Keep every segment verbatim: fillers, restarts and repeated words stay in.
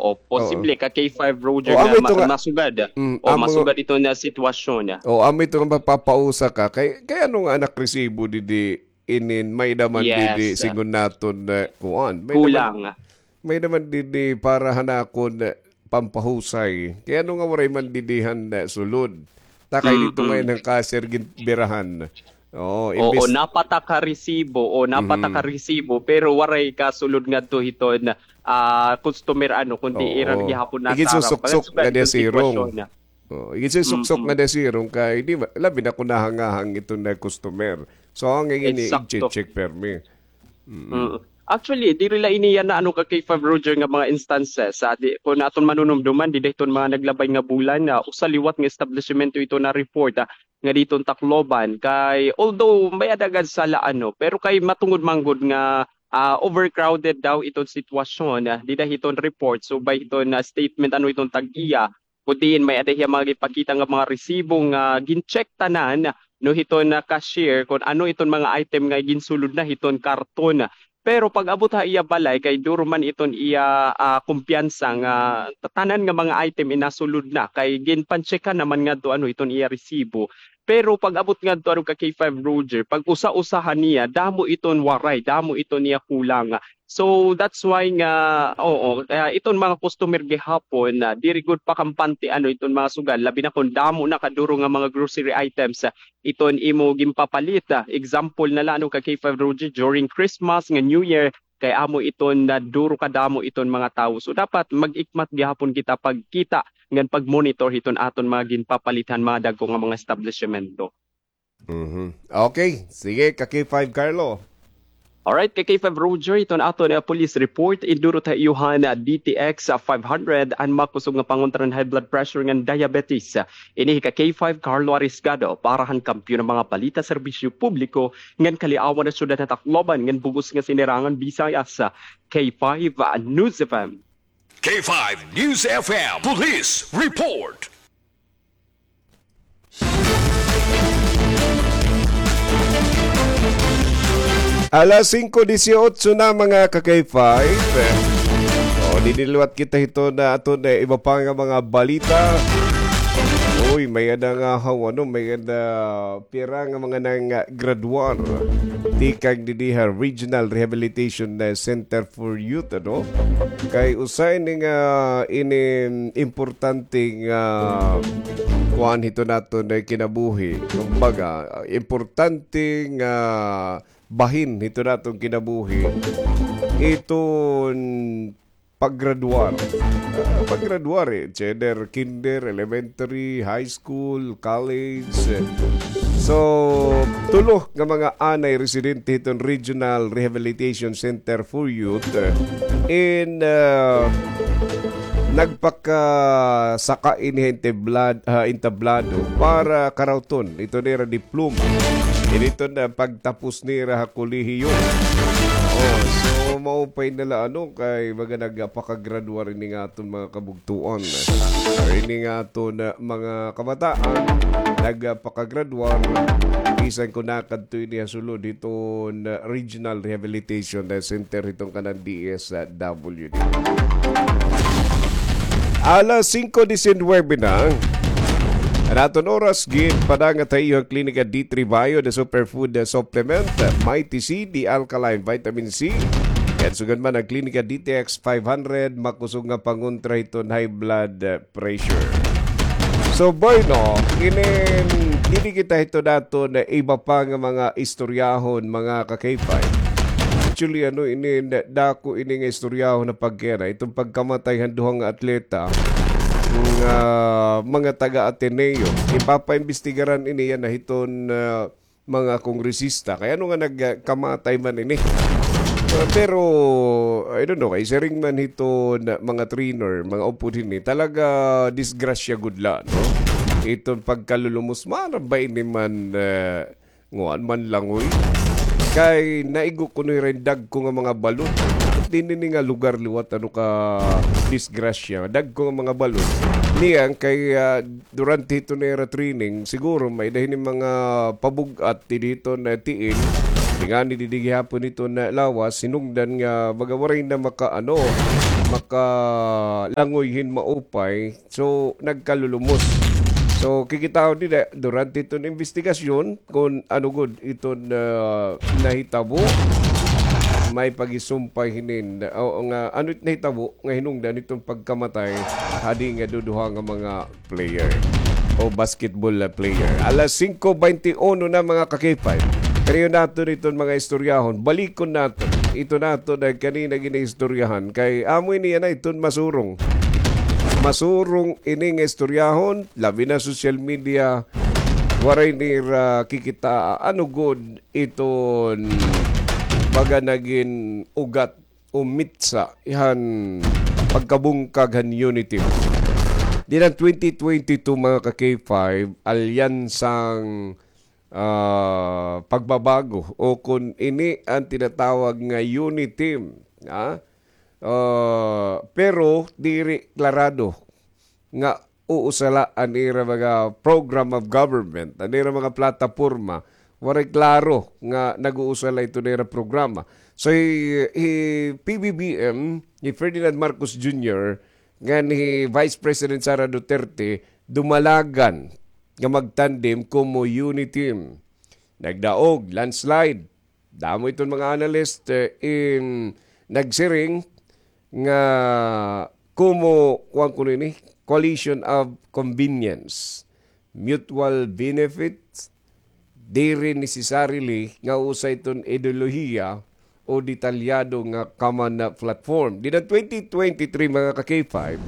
O, posible ka K five, Roger, nga ma-, masugad. Mm, o, masugad ito na sitwasyon. O, amo ito nga mapapausa ka. Kay, kay ano nga an resibo didi inin, may-ada man didi, sigon naton, kuan. May-ada man didi para han akon pampahusay. Kay ano nga waray man didi han sulod. Ta kay didto ngay-an han cashier ginbirahan. Oo, imbes napata ka resibo, o napata ka resibo, pero waray kasulod ngadto hiton, ah, customer, ano, kundi ira gihapon nasarap. Iginsusuksok nga dia sirong. Oo, iginsusuksok nga dia sirong kay di ba, labi na kon nahangahang iton nga customer. So, an ngay-an ini, i-check permi. Mm. Actually, diri la ini yana, ano, ka K five, Roger, nga mga instances. Sa di, kon aton manunumduman, dida hiton mga naglabay nga bulan, usa liwat nga establisimento ito na-report, ah, nga diton Tacloban. Kay, although may-ada gad sala, ano, pero kay matungod man gud nga, ah, overcrowded daw iton sitwasyon, ah, dida hiton report, subay hiton, ah, statement, ano, iton tag-iya, kun diin may-ada hiya mga ginpakita nga mga resibo nga gin-check tanan, no, hiton, ah, cashier kon ano iton mga item nga ginsulod na hiton karton. Pero pag-abot ha iya balay, kay duro man iton iya, ah, kumpiyansa nga tanan nga mga item inasulod na, kay ginpan-check-an naman ngadto, ano, iton iya resibo. Pero pag-abot ngadto, ano, ka K five, Roger, pag usa-usahan niya, damo iton waray, damo iton iya kulang. So, that's why nga, oo, kaya iton mga customer gihapon, ah, diri gud pa kampante, ano, iton mga sugal, labi na kon damo na kaduro nga mga grocery items, ah, iton imo ginpapalit, ah. Example na la, ano, ka K five, Roger, during Christmas nga New Year, kay amo iton nga duro kadamo iton mga tawo. So, dapat mag-ikmat gihapon kita pagkita ngan pag-monitor hiton aton mga ginpapalit han mga dagko nga mga establisimento. Mhm. Okay. Sige, ka K five Carlo. Alright, ka K five Roger, iton aton, ah, police report, indurot ha iyo han, ah, D T X, ah, five hundred, an makusog nga pangontra han high blood pressure ngan diabetes. Ini hi ka K five Carlo Arisgado, para han Kampiyon han mga Balita, Serbisyo Publiko, ngan Kaliawan han Syudad han Tacloban, ngan bug-os nga Sinirangan Visayas, K five, ah, News F M. K five News F M Police Report. Alas singko disiotso na, mga ka K five. O, didi liwat kita hiton aton, eh, iba pa nga mga balita. Uy, may-ada nga haw, ano, may-ada pira nga mga nanggraduar tikang didi ha Regional Rehabilitation, eh, Center for Youth, ano? Kay usa ini nga, ini importante nga kuan hiton aton, eh, kinabuhi. Kumbaga, importante nga bahin hiton aton kinabuhi. Iton paggraduar. Ah, paggraduar, eh, either kinder, elementary, high school, college. So, tulo nga mga anay residente hiton Regional Rehabilitation Center for Youth, eh, in, ah, nagpakasaka ini ha entablad-, ah, entablado para karawton iton ira diploma. Ini iton pagtapos nira ha kolehiyo. Oh, so, maupay na la, ano, kay baga nagpakagraduar ini nga aton mga kabugtoan. Ini nga aton, ah, mga kabataan, nagpakagraduar, bisan kon nakadto ini ha sulod hiton, ah, Regional Rehabilitation, ah, Center hiton kanan D S W D. Alas singko disinwebe na. An aton oras, ginpadangat ha iyo an Klinika D three Bio, the superfood, the supplement, Mighty C, the alkaline vitamin C. Ngan sugad man an Klinika D T X five hundred, makusog nga pangontra hiton high blood, eh, pressure. So, bueno, inin, didi kita hiton aton iba pa nga mga istoryahon, mga ka K five. Actually, ano, inin, dako ini nga istoryahon na pagkera. Iton pagkamatay han duha nga atleta nga mga taga-Ateneo. Ipapaimbestigaran ini yana hiton, ah, mga kongresista. Kay ano nga nagkamatay man ini? Ah, pero, I don't know, kay siring man hiton mga trainer, mga upod hini, talaga disgrasya gud la, no? Iton pagkalulumos, maaram ba ini man, ah, nguan man langoy? Kay naigo kuno hira hin dagko nga mga balod. Dinhi ini nga lugar liwat, ano, kadisgrasya. Dagko nga mga balod. Niyan kay, ah, durante hiton ira training, siguro may-ada hini mga pabug-at didi hiton tiil. Tingani didi gihapon hiton lawas, hinungdan nga baga waray na maka-, ano, makalangoy hin maupay. So, nagkalulumos. So, kikitaon dida, durante iton investigasyon, kon ano gud iton, ah, nahitabo, may pagisumpay hinin, o nga, ano it nahitabo, nga hinungdan iton pagkamatay, hadi nga duduha nga mga player o basketball player. Alas singko baynte uno na, mga ka-K five. Kariyo naton iton mga istoryahon. Balikon naton. Ito naton na kanina ginaistoryahan. Kay amo ini yana iton masurong. Masurong ini nga istoryahon. Labi na social media. Waray nira kikita. Ano gud iton baga nagin ugat o mitsa han pagkabungkag han UNITIM. Dinan twenty twenty-two, mga ka-K five, alyansang, ah, pagbabago o kon ini an tinatawag nga UNITIM, ha? Ah, pero diri klarado nga uusala an ira mga program of government, an ira mga plataporma, waray klaro nga nag-uusala ito nira programa. So, hi, hi P B B M, hi Ferdinand Marcos Junior, ngan hi Vice President Sara Duterte, dumalagan nga magtandem komo UNITIM. Nagdaog, landslide, damo iton mga analyst, eh, in nagsiring nga komo, kuwan kuno ini, coalition of convenience, mutual benefits, diri necessarily nga usa iton ideolohiya o detalyado nga common na platform. Dinan twenty twenty-three, mga ka-K five,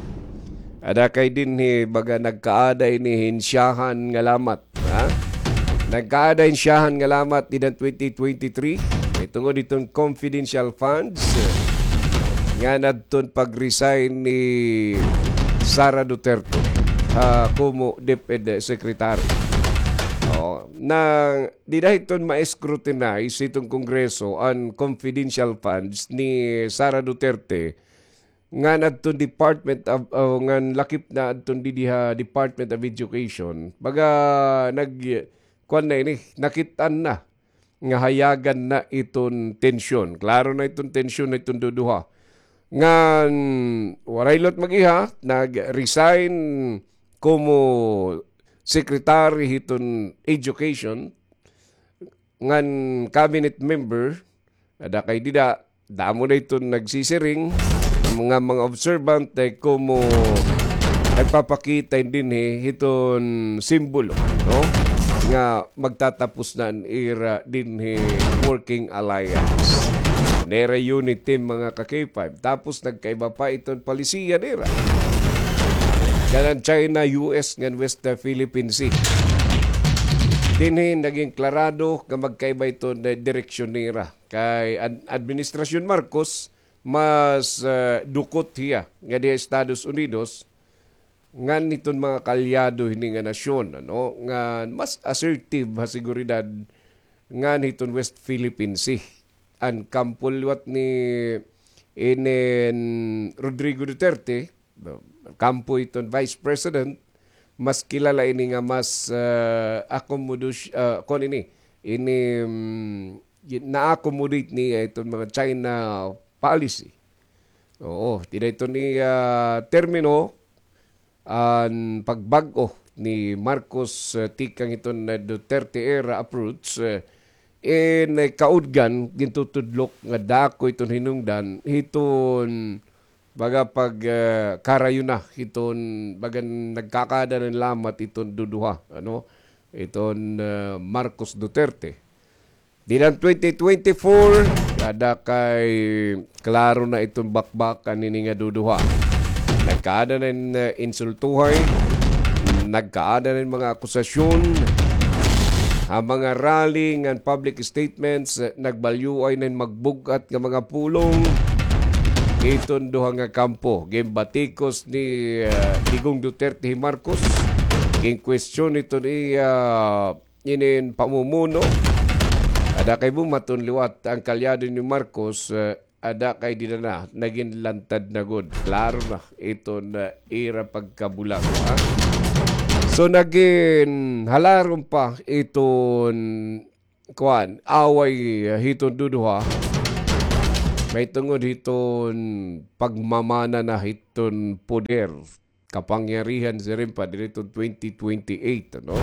ada kay dinhi baga nagkaada ini hin syahan nga lamat. Ha? Nagkaada hin syahan nga lamat dinan twenty twenty-three. Mahitungod iton confidential funds nga nadton pag-resign ni Sara Duterte, ah, komo DepEd Secretary. Oh, na dida hiton ma-scrutinize hiton Kongreso an confidential funds ni Sara Duterte ngan adton Department of, o ngan lakip na adton didi ha Department of Education. Baga nag-, kuwan na ini, nakit-an na nga hayagan na iton tensyon. Klaro na iton tensyon na iton duduha. Ngan waray liwat mag-iha, nag-resign komo secretary hiton education, ngan cabinet member, ada kay dida, damo na iton nagsisiring, mga, mga observant, eh, komo nagpapakita dinhi hiton simbolo, no? Nga magtatapos na an ira dinhi working alliance. Nira UNITIM, mga ka-K five. Tapos nagkaiba pa iton palisiya nira. Kanan China, U S, ngan West, uh, Philippine Sea. Dinhi naging klarado nga magkaiba iton, uh, direksyon nira. Kay an-, Administrasyon Marcos, mas, uh, dukot hiya nga diha Estados Unidos, ngan hiton mga kaalyado hini nga nasyon, ano, nga mas assertive ha seguridad ngan hiton West Philippine Sea. An kampo liwat ni inin Rodrigo Duterte, kampo hiton Vice President, mas kilala ini nga mas, ah, akomodos-, ah, kuan ini, ini, mm, gi-, na-accommodate niya iton mga China policy. Oo, dida iton, ah, termino, an pagbag-o ni Marcos, eh, tikang hiton, eh, Duterte era approach, eh, in, eh, kaudgan, gintutudlok nga dako iton hinungdan, hiton baga pag, eh, karayo na, hiton baga nagkakaada na hin lamat iton duduha, ano, iton, eh, Marcos Duterte. Dinan twenty twenty-four, ada kay klaro na iton bakbakan hini nga duduha. Nagkaada na hin, eh, insultuhay, nagkaada na hin mga akusasyon, ha mga rally ngan public statements, eh, nagbalyuay na hin magbug-at nga mga pulong iton duha nga kampo. Ginbatikos ni, eh, Digong Duterte hi Marcos, ginkwestiyon iton iya inin pamumuno. Ada kay bumaton liwat an kaalyado ni Marcos, eh, ada kay dida na, nagin lantad na gud. Klaro na iton ira pagkabulag, ha? So, nagin halarom pa iton, kuan, away, eh, hiton duduha. Mahitungod hiton pagmamana na hiton poder, kapangyarihan siring pa diri hiton twenty twenty-eight, ano?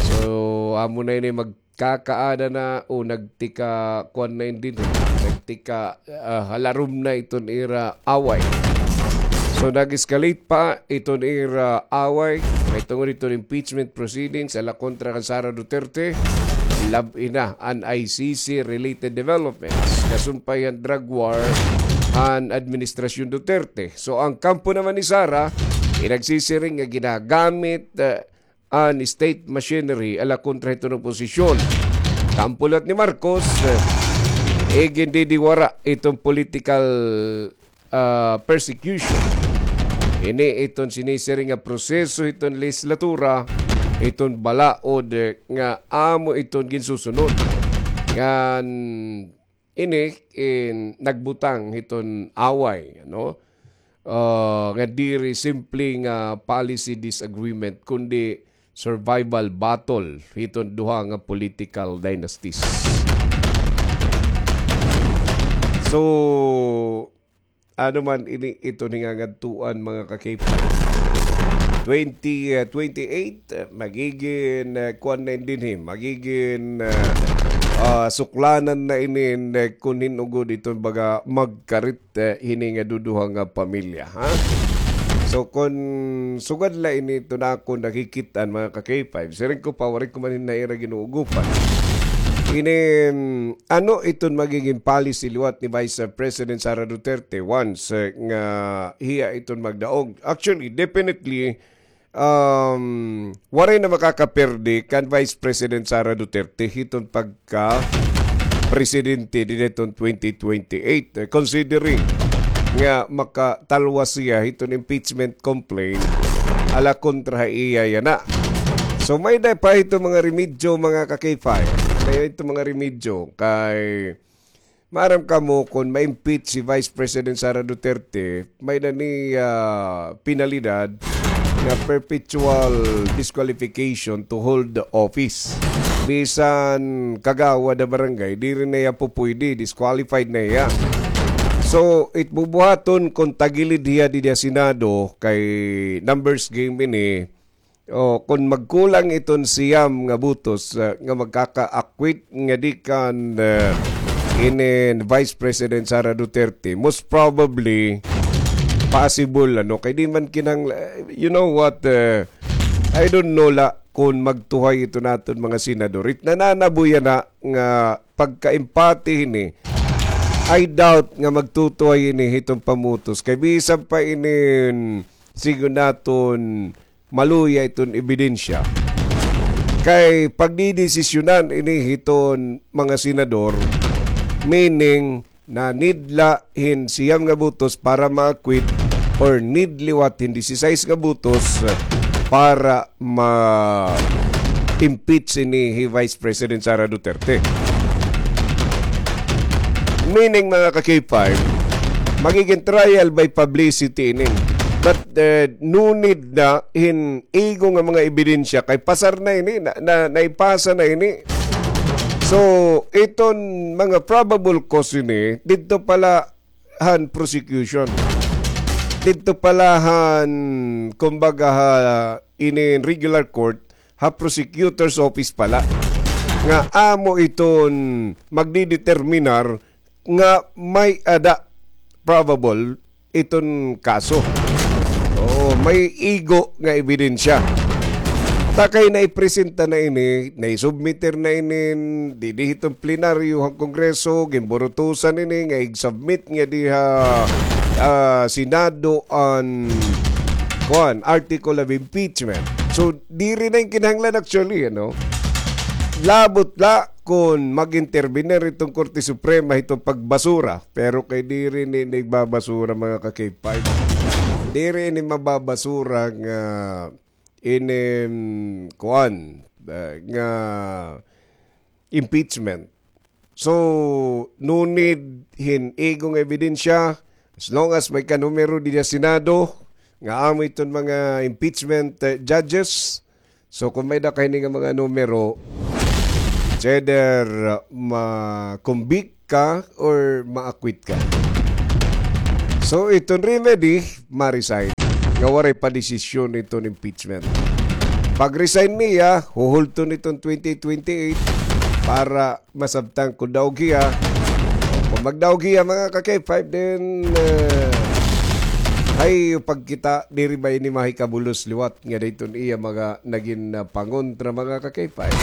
So, amo na ini magkakaada na o nagtika, kuan na ini dinhi, nagtika, ah, halarom na iton ira away. So, nag-escalate pa iton ira away, mahitungod hiton impeachment proceedings ala kontra kan Sara Duterte, labi na an I C C related developments. Kasumpay han drug war han administrasyon Duterte. So, ang kampo naman ni Sara, nagsisiring nga ginagamit, eh, an state machinery ala kontra hiton oposisyon. Kampo liwat ni Marcos, eh, igindidiwara iton political, ah, persecution. Ini iton sinisiring nga proseso hiton lehislatura, iton balaod, eh, nga amo iton ginsusunod. Ngan ini, eh, nagbutang hiton away, ano? Ah, nga diri simple nga policy disagreement, kundi survival battle hiton duha nga political dynasties. So, ano man ini iton hingangadtuan, mga ka-K five. Twenty, ah, twenty-eight, ah, magigin, ah, kuan na ini dinhi, magigin, ah, ah, suklanan na ini, ah, kun hin-o gud iton baga magkarit, ah, hini nga duduha nga pamilya, ha? So, kun sugad la ini iton akon nakikit-an, mga ka-K five, siring ko pa, waray ko man hin naira ginuugupan. Ini, mm, ano iton magigin policy liwat ni Vice President Sara Duterte once, eh, nga hiya iton magdaog? Actually, definitely, um, waray na makakaperde kan Vice President Sara Duterte hiton pagka-presidente dinhi hiton twenty twenty-eight, eh, considering nga makatalwas hiya hiton impeachment complaint ala kontra ha iya yana. So, may-ada pa hiton mga remedyo, mga ka-K five. May-ada hiton mga remedyo kay maaram kamo kon ma-impeach si Vice President Sara Duterte, may-ada ini, ah, penalidad nga perpetual disqualification to hold the office. Bisan kagawad ha barangay, diri na hiya pupuydi, disqualified na hiya. So, it bubuhaton kon tagilid hiya didi ha Senado, kay numbers game ini, o, kon magkulang iton siyam nga butos, ah, nga magkaka-acquit ngadi kan, ah, inin Vice President Sara Duterte, most probably, possible, ano, kay di man kinahanglan, you know what, ah, I don't know la kon magtuhay iton aton mga senador. It nananabo yana nga pagka-empate hini, I doubt nga magtutuhay ini hiton pamutos. Kay bisan pa inin, siring naton, maluya iton ebidensya. Kay pagdidesisyonan ini hiton mga senador, meaning na need la hin siyam nga butos para ma-acquit or need liwat hin disisais nga butos para ma-impeach ini hi Vice President Sara Duterte. Meaning, mga ka-K five, magiging trial by publicity ini. But, eh, no need na hin igo nga mga ebidensya kay pasar na ini, na, na, naipasa na ini. So, iton mga probable cause ini, didto pa la han prosecution. Didto pa la han, kumbaga, ha, inin regular court, ha prosecutor's office pa la. Nga amo iton magdideterminar nga may-ada probable iton kaso. Oo, may igo nga ebidensya. Ta kay naipresenta na ini, naisubmiter na ini, didi hiton plenaryo han Kongreso, ginburutusan ini nga i-submit ngadi ha, ah, Senado an, kuan, article of impeachment. So, diri na ini kinahanglan actually, ano? Labot la kon mag-intervenir iton Korte Suprema hiton pagbasura. Pero kay diri ini igbabasura, mga ka-K five. Diri ini mababasura nga ini, mm, kuan, ah, nga impeachment. So, no need hin igo nga ebidensya, as long as may kanumero dida Senado, nga amo iton mga impeachment, eh, judges. So, kung may-ada kay ini nga mga numero, it's either, uh, ma-convict ka or ma-acquit ka. So, iton remedy, ma-resign. Nga waray pa desisyon iton impeachment. Pag-resign niya, huhulton iton twenty twenty-eight para masabtan kon daog hiya. Kon magdaog hiya, mga ka-K five, then, uh, ay, pagkita, diri ba ini mahikabulos liwat nga dayton iya mga nagin, ah, pangontra, mga ka-K five.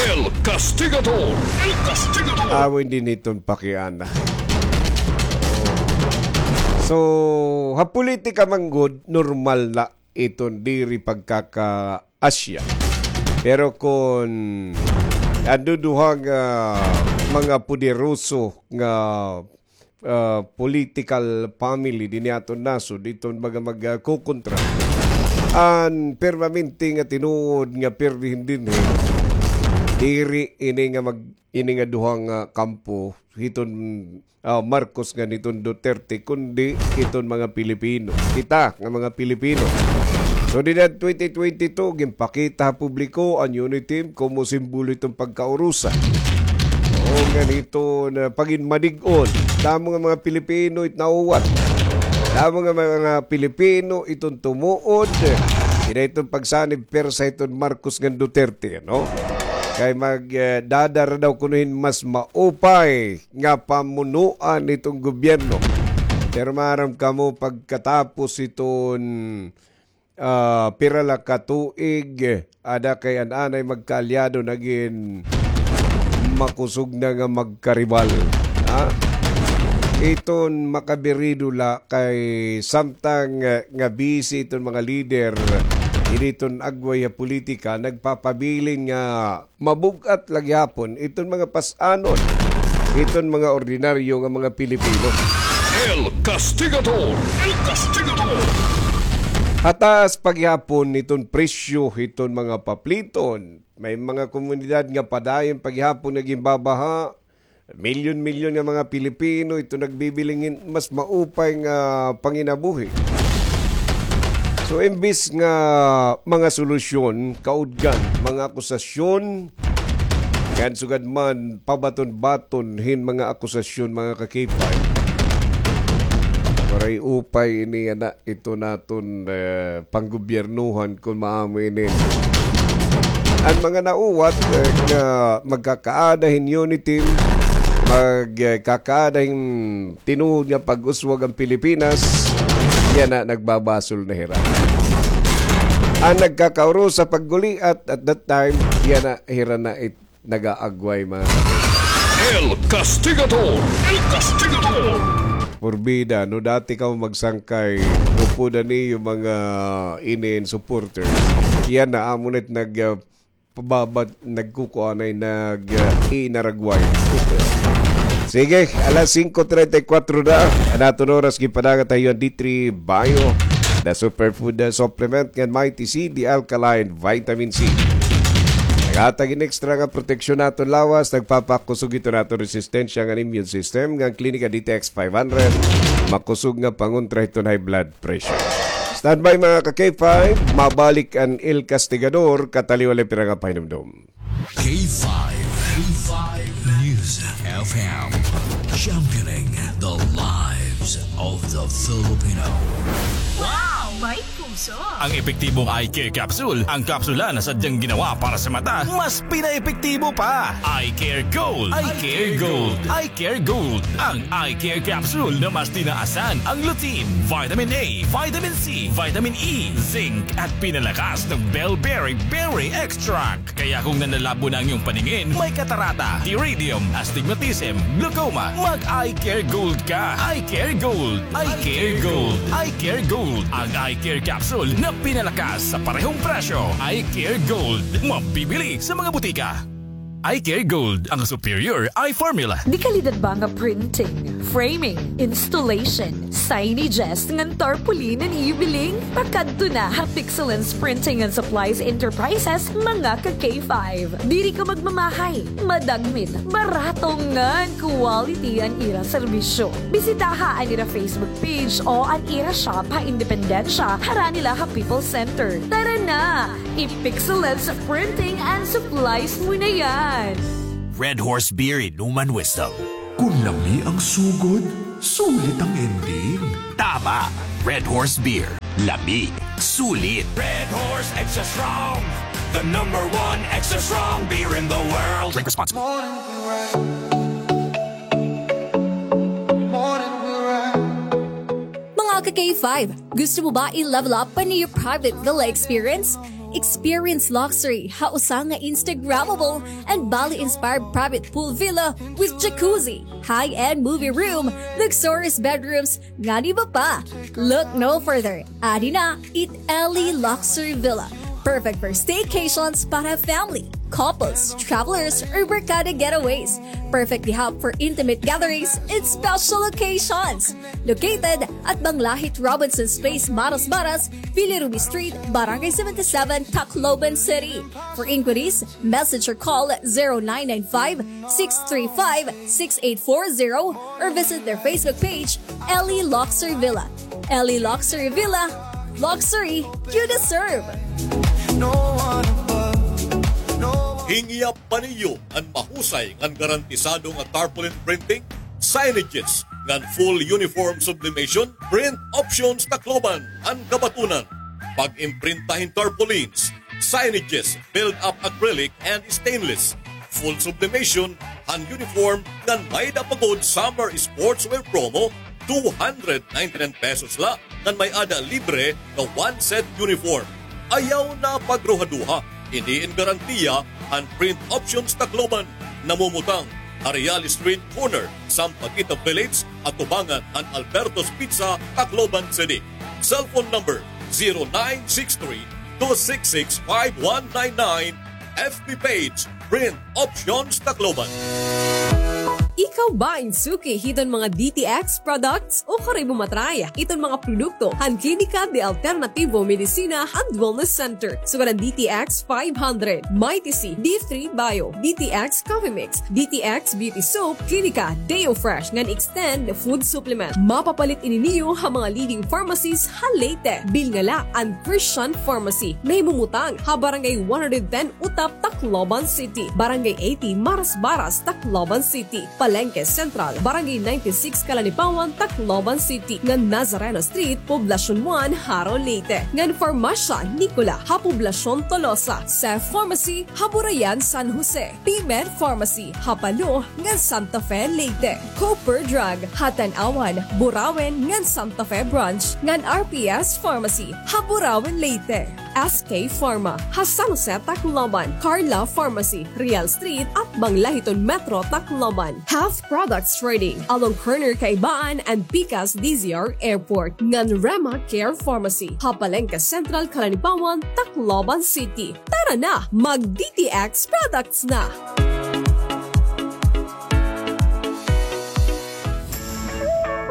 El Castigador! El Castigador! Amo indi niton pakiana. So, ha politika man gud, normal na iton diri pagkakaasya. Pero kon an duduha nga mga poderoso nga ah, political family dinhi aton nasod, iton mga magkukontra. An permanente nga tinuod nga pirdihin dinhi, diri ini nga mag-, ini nga duha nga kampo, hiton, ah, Marcos ngan hiton Duterte, kundi hiton mga Pilipino. Kita nga mga Pilipino. So, dinhi twenty twenty-two, ginpakita ha publiko an UNITIM komo simbolo hiton pagkaurusa. O, ngan hiton, ah, paghinmadig-on. Damo nga mga Pilipino it nauwat. Damo nga mga Pilipino iton tumuod. Hini iton pagsanib pwersa hiton Marcos ngan Duterte, no? Kay mag, eh, dadara daw kuno hin mas maupay nga pamunuan hiton gobyerno. Pero maaram kamo, pagkatapos hiton ah, pira la ka tuig, ada kay an anay magkaalyado nagin makusog na nga magkaribal. Ha? Iton makabirido la kay samtang, eh, nga busy iton mga lider, initon agway ha politika, nagpapabilin nga mabug-at la gihapon iton mga pas-anon hiton mga ordinaryo nga mga Pilipino. El Castigador! El Castigador! Ha taas pa gihapon hiton presyo hiton mga papliton. May mga komunidad nga padayon pa gihapon nga ginbabaha. Milyon-milyon nga mga Pilipino iton nagbibiling hin mas maupay nga panginabuhi. So, imbis nga mga solusyon, kaudgan, mga akusasyon, ngan sugad man pabaton-baton hin mga akusasyon, mga ka-K five. Waray upay ini yana, ito naton, eh, panggobyernohan kon maamo ini. An mga nauwat, eh, nga magkakaada hin UNITIM, mag, eh, kakaada hin tinuod nga pag-uswag an Pilipinas, yana nagbabasol na hira. An nagkakaurusa pagguliat at that time, yana hira na it nagaagway, mga El Castigador! El Castigador! Porbida, no dati kamo magsangkay, upod an iyo mga inin supporters. Yana, amo na it nag, ah, pababa, nagkukuanay, nag, ah, inaragway. Sige, alas singko treinta y cuatro na. An aton oras, ginpadagan ta ha iyo an D three Bio, the superfood, uh, supplement, ngan Mighty C, the alkaline vitamin C. Naghatag hin extra nga proteksyon ha aton lawas, nagpapakusog hiton aton resistensya ngan immune system, ngan Klinika D T X five hundred, makusog nga pangontra hiton high blood pressure. Standby, mga ka-K five, mabalik an El Castigador, kataliwan la pira nga pahinumdom. K five, K five News F M, championing the lives of the Filipino. Wow! May puso! Ang epektibong Eye Care Capsule, ang kapsula na sadyang ginawa para sa mata, mas pinaepektibo pa. Eye Care Gold. Eye Care Gold. Eye Care Gold. Ang Eye Care Capsule na mas tinaasan ang lutein, vitamin A, vitamin C, vitamin E, zinc, at pinalakas ng bell berry berry extract. Kaya kung nanlalabo na ang iyong paningin, may katarata, pterygium, astigmatism, glaucoma, mag-Eye Care Gold ka. Eye Care Gold. Eye Care Gold. Eye Care Gold. Ang Eye Care Capsule na pinalakas sa parehong presyo. Eye Care Gold. Mabibili sa mga butika. Eye Care Gold, ang superior eye formula. Dekalidad ba nga printing, framing, installation, signages, ngan tarpaulin an iyo biling? Pakadto na ha Pixelens Printing and Supplies Enterprises, mga ka-K five. Diri ka magmamahay, madagmit, barato ngan quality an ira serbisyo. Bisitaha an ira Facebook page o an ira shop ha Independencia, harani la ha People's Center. Tara na! I-Pixelens Printing and Supplies mo na yan! Red Horse Beer, inuman wisdom. Kun lami ang sugod, sulit ang ending. Tama! Red Horse Beer. Lami. Sulit. Red Horse Extra Strong, the number one extra strong beer in the world. Drink responsibly. Mga ka-K five, gusto mo ba i-level up pa niyo private villa experience? Experience luxury ha usa nga Instagrammable and Bali-inspired private pool villa with jacuzzi, high-end movie room, luxurious bedrooms, ngan iba pa. Look no further. Adi na it Ellie Luxury Villa. Perfect for staycations para family, couples, travelers, or barkada getaways. Perfect di hub for intimate gatherings and special occasions. Located at Banglahit Robinson's Place, Marasbaras, Villa Ruby Street, Barangay seventy-seven, Tacloban City. For inquiries, message or call zero nine nine five, six three five, six eight four zero or visit their Facebook page, Ellie Luxury Villa. Ellie Luxury Villa, luxury you deserve. Hingyap pa niyo an mahusay ngan garantisado nga tarpaulin printing, signages, ngan full uniform sublimation, Print Options Tacloban an kabatunan. Pag-imprinta hin tarpaulins, signages, build-up acrylic and stainless, full sublimation han uniform ngan may-ada pa gud summer sportswear promo, two hundred ninety-nine pesos la ngan may-ada libre nga one set uniform. Ayaw na pagruhaduha, ini in garantiya han Print Options Tacloban, namumutang ha Real Street corner, Sampaguita Village, atubangan han Alberto's Pizza, Tacloban City. Cellphone number zero nine six three, two six six, five one nine nine. F B page, Print Options Tacloban. Ikaw ba in suki hiton mga D T X products? Ukon imo matry iton mga produkto han Klinika de Alternativo Medicina and Wellness Center. Sugad an D T X five hundred, Mighty C, D three Bio, D T X Coffee Mix, D T X Beauty Soap, Klinika Deo Fresh ngan Extend Food Supplement. Mapapalit ini niyo ha mga leading pharmacies ha Leyte. Bilnga la an Christian Pharmacy, nahimumutang ha Barangay one hundred ten Utap, Tacloban City, Barangay eighty Marasbaras, Tacloban City, Palengke Central, Barangay ninety-six Calanipawan, Tacloban City, ngan Nazareno Street, Poblacion one, Jaro, Leyte, ngan Farmasya Nicola ha Poblacion Tolosa, Cef Pharmacy ha Burayan, San Jose, P-Med Pharmacy ha Palo ngan Santa Fe, Leyte, Cooper Drug ha Tanauan, Burauen ngan Santa Fe Branch, ngan R P S Pharmacy ha Burauen, Leyte, S K Pharma ha San Jose, Tacloban, Carla Pharmacy, Real Street, atbang la hiton Metro Tacloban, Health Products Trading along corner Kaibaan and Pikas D Z R Airport, ngan Rema Care Pharmacy ha Palengke Central, Calanipawan, Tacloban City. Tara na, mag-D T X products na!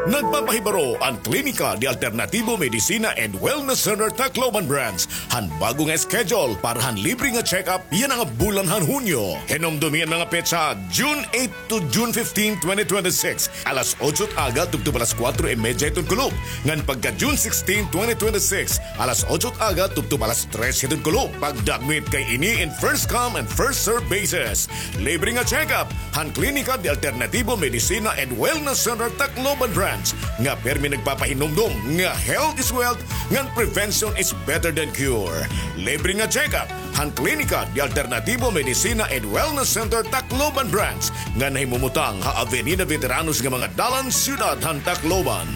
Nagpapahibaro an Klinika de Alternativo Medicina and Wellness Center Tacloban Branch han bag-o nga schedule para han libre nga check-up yana nga bulan han Hunyo. Hinumdomi an mga petsa, June eight to June fifteen, twenty twenty-six, alas otso it aga tubtob alas kuwatro y medya hiton kulop, ngan pagka June sixteen, twenty twenty-six, alas otso it aga tubtob alas tres hiton kulop. Pagdakmit kay ini in first come and first serve basis. Libre nga check-up han Klinika de Alternativo Medicina and Wellness Center Tacloban Branch, nga pirmi nagpapahinumdom nga health is wealth ngan prevention is better than cure. Libre nga check-up han Klinika de Alternativo Medicina and Wellness Center Tacloban Branch, nga nahimumutang ha Avenida Veteranos nga mga dalan, siyudad han Tacloban.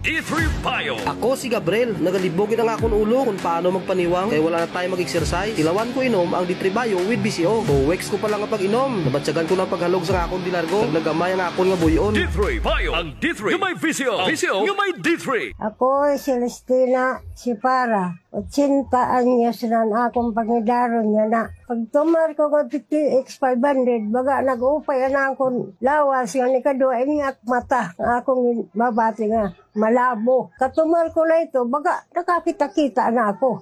D three Bio. Ako si Gabriel. Nagalibog gid an akon ulo kon paano magpaniwang kay wala na time mag-exercise. Tilawan ko inom ang D three Bio with V C O. Two weeks ko pa lang nga pag-inom, nabatyagan ko na an paghalog sa akon dilargo. Nagnagamay an akon nga buy-on. D three Bio. Ang D three nga may V C O. V C O nga may D three. Ako si Celestina Sipara. Ochenta anyos na an akon pangidaron yana. Pagtumar ko nga D T X five hundred, baga nag-upay an akon lawas, ngan ikaduha ini ak mata nga akon mabati nga malabo. Katumar ko na ito, baga nakakita-kita na ako.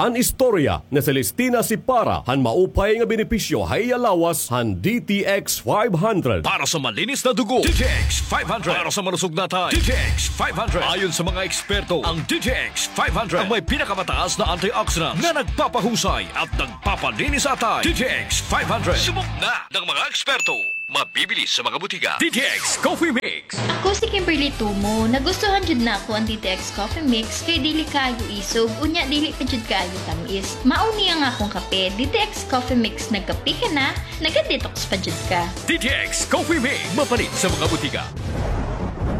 An istorya ni Celestina Sipara han maupay nga benepisyo ha iya lawas han D T X five hundred. Para sa malinis na dugo, D T X five hundred. Para sa malusog na atay, D T X five hundred. Ayon sa mga eksperto, ang D T X five hundred ang may pinakamataas na antioxidants na nagpapahusay at nagpapalinis sa atay. D T X five hundred. Subok na ng mga eksperto. Mabibili sa mga butika. D T X Coffee Mix. Ako si Kimberly Tumo. Nagustuhan jud nako an D T X Coffee Mix kay dili kaayo isog, unya dili pa jud kaayo tamis. Mao ni ang akong kape, D T X Coffee Mix. Nagkape ka na, naga-detox pa jud ka. D T X Coffee Mix, mapalit sa mga butika.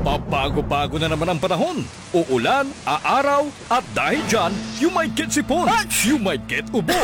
Pabago-bago na naman ang panahon. Uulan, aaraw, at dahil dyan, you might get sipon, you might get ubo,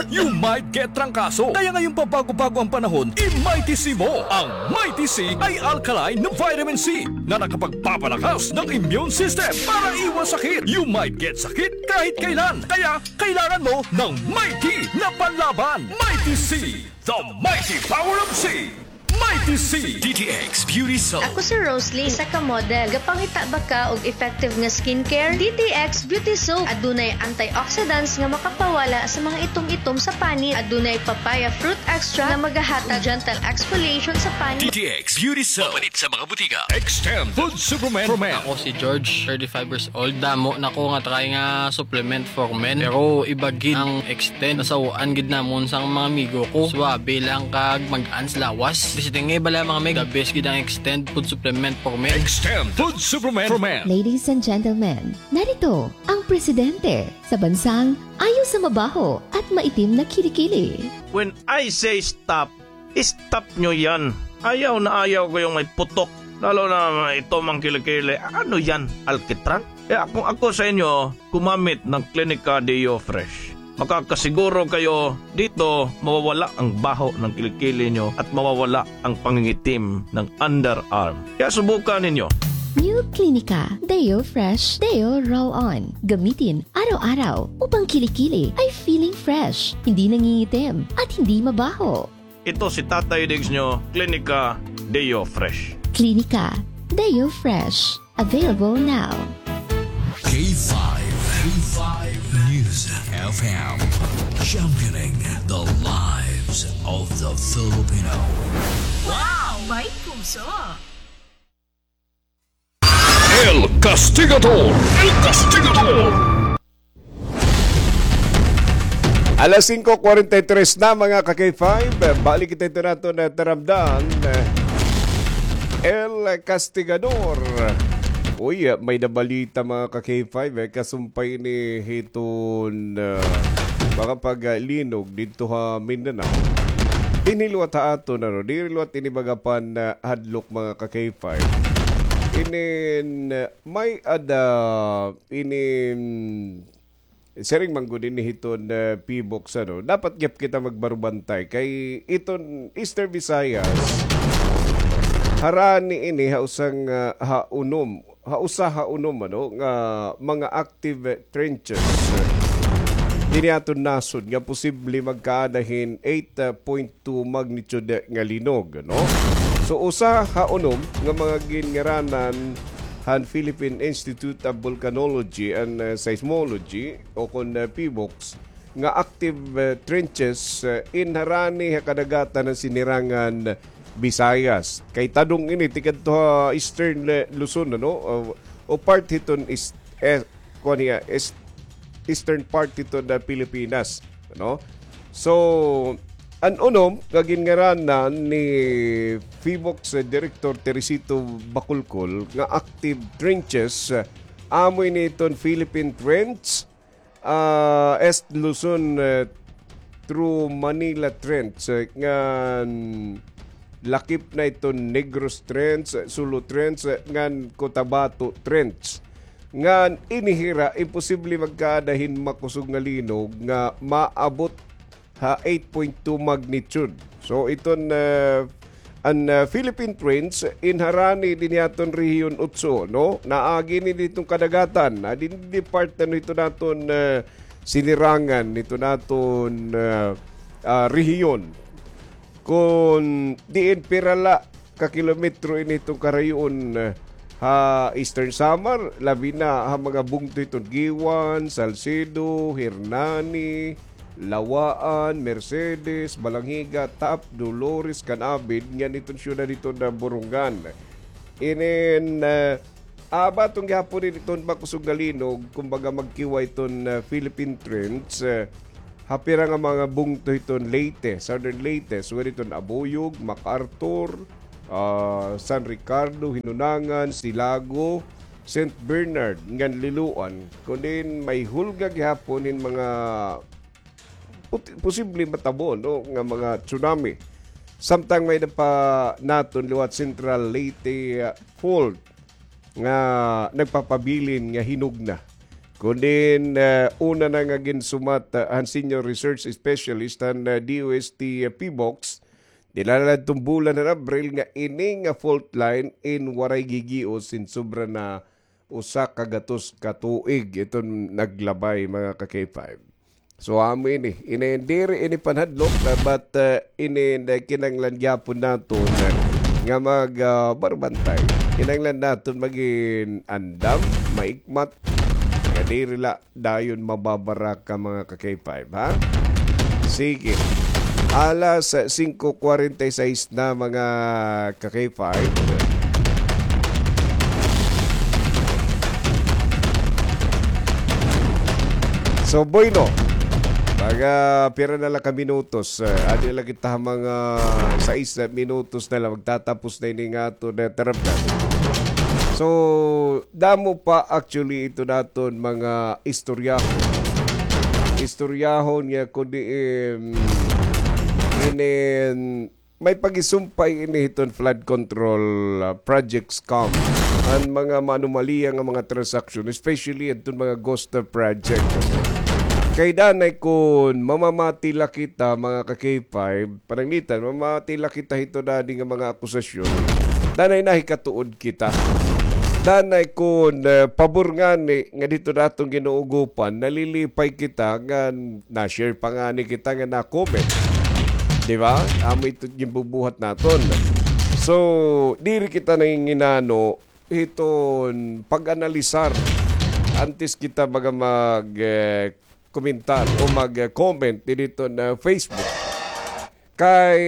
you might get trangkaso. Kaya ngayong pabago-bago ang panahon, i-Mighty C mo. Ang Mighty C ay alkaline na vitamin C na nakapagpapalakas ng immune system para iwas sakit. You might get sakit kahit kailan. Kaya kailangan mo ng Mighty na panlaban. Mighty C, the mighty power of C. Mighty C. D T X Beauty Soap. Ako si Rosalie, isa ka model. Gapangita ba ka og effective nga skincare? D T X Beauty Soap. Adunay antioxidants nga makapawala sa mga itom-itom sa panit. Adunay papaya fruit extract nga magahatag gentle exfoliation sa panit. D T X Beauty Soap. Mapalit sa mga butika. Extend Food Supplement for Men. Ako si George, thirty-five years old. Damo na ko nga try nga supplement for men. Pero iba gid ang Extend. Nasaw-an gid namon sang mga amigo ko. Suabe lang kag mag-ans lawas. Basta nga bala, mga meg, the best gid ang Extend food supplement for men. Extend food supplement for men. Ladies and gentlemen, narito ang presidente sa bansang ayaw sa mabaho at maitim na kilikili. When I say stop, stop nyo yan. Ayaw na ayaw ko yung may putok. Lalo na may itom ang kilikili. Ano yan? Alkitran? Kaya kung ako sa inyo, gumamit ng Clinica Deo Fresh. Makakasiguro kayo dito mawawala ang baho ng kilikili nyo at mawawala ang pangingitim ng underarm. Kaya subukan ninyo. New Clinica Deo Fresh Deo Roll On. Gamitin araw-araw upang kilikili ay feeling fresh, hindi nangingitim, at hindi mabaho. Ito si Tatay Diggs nyo, Clinica Deo Fresh. Clinica Deo Fresh. Available now. K five, K five News F M, championing the lives of the Filipino. Wow! May puso! El Castigador! El Castigador! Alas singko kwarenta y tres na, mga ka-K five. Balik kita ito naton na taramdan. El Castigador. Uy, may nabalita, mga ka-K five, eh. Kasumpay ini hiton, ah, mga paglinog didto ha Mindanao. Dinhi liwat ha aton, ano, diri liwat ini mga pan, ah, hadlok, mga ka-K five. Inin, ah, may-ada, inin, siring man gud ini hiton, ah, PHIVOLCS, ano, dapat gihap kita magbarubantay kay iton Eastern Visayas, harani ini ha usa nga, ah, ha unom, ha usa ha unom, ano, nga mga active trenches. Dinhi ha aton nasod nga posible magkaada hin eight point two magnitude nga linog, no? So, usa ha unom nga mga ginngaranan han Philippine Institute of Volcanology and, uh, Seismology o kon, uh, PHIVOLCS nga active, uh, trenches, uh, in harani ha kadagatan han Sinirangan Visayas. Kay tadong ini tikadto ha Eastern, uh, Luzon, ano? O, o part hiton is, eh, kuan hiya, is, eastern part hiton Pilipinas, no? So, an unom nga ginngaranan ni PHIVOLCS Director Teresito Bacolcol nga active trenches, ah, amo ini iton Philippine Trench, ah, East Luzon, eh, through Manila Trench, eh, ngan lakip na iton Negros Trench, Sulu Trench, ngan Cotabato Trench. Ngan ini hira, imposible magkaada hin makusog nga linog nga maabot ha eight point two magnitude. So, iton, ah, an, ah, Philippine Trench, in harani dinhi ha aton Rehiyon Otso, no? Naagi ini hiton kadagatan, ah, dinhi part, ano, hiton aton, ah, Sinirangan, hiton aton, ah, ah, rehiyon. Kon diin pira la ka kilometro ini hiton karayoon, eh, ha Eastern Samar, labi na ha mga bungto hiton Guiuan, Salcedo, Hernani, Lawaan, Mercedes, Balangiga, Taap, Dolores, Canavid, ngan iton syudad hiton, ah, Borongan. Inin, ah, aba, iton gihapon iton makusog nga linog, kumbaga magkiwa iton, ah, Philippine Trench, ah, ha pira nga mga bungto hiton Leyte, Southern Leyte, sugad hiton Abuyog, MacArthur, ah, San Ricardo, Hinunangan, Silago, Saint Bernard, ngan Liloan, kun diin may hulga gihapon hin mga put-, posible matabo, no, nga mga tsunami. Samtang may-ada pa naton liwat Central Leyte, ah, Fault nga nagpapabilin nga hinog na. Kun diin, ah, una na nga ginsumat, ah, han senior research specialist han, ah, D O S T, ah, PHIVOLCS, dinala adton bulan han Abril nga ini nga fault line in waray gigios hin sobra na usa ka gatos ka tuig iton naglabay, mga ka-K five. So, amo ini. Ini, diri ini panhadlok, ah, but, ah, ini, ah, kinahanglan gyapon naton, ah, nga mag, ah, barbantay. Kinahanglan naton magin andam, maikmat, nga diri la dayon mababaraka, mga ka-K five, ha? Sige. Alas singko kwarenta y seis na, mga ka-K five. So, bueno, mga pira na la ka minutos. Eh, adi la kita mga sais minutos na la. Magtatapos na ini nga aton, eh, tarapdan. So, damo pa actually iton aton mga istoryahon. Istoryahon nga kun diin, inin, may pagisumpay ini hiton flood control, ah, project scam. An mga maanomalya nga mga transaksyon, especially adton mga ghost project. Kay danay kun mamamati la kita, mga ka-K five, pananglitan, mamamati la kita hiton adi nga mga akusasyon. Danay nahikatuod kita. Danay kun, eh, pabor ngani nga didto naton ginuugopan, nalilipay kita nga na-share pa ngani kita nga na-comment. Di ba? Amo ito ginbubuhat naton. So, diri kita nanginginano hiton pag-analisar antes kita baga mag, eh, komentar o mag, eh, comment didto na Facebook. Kay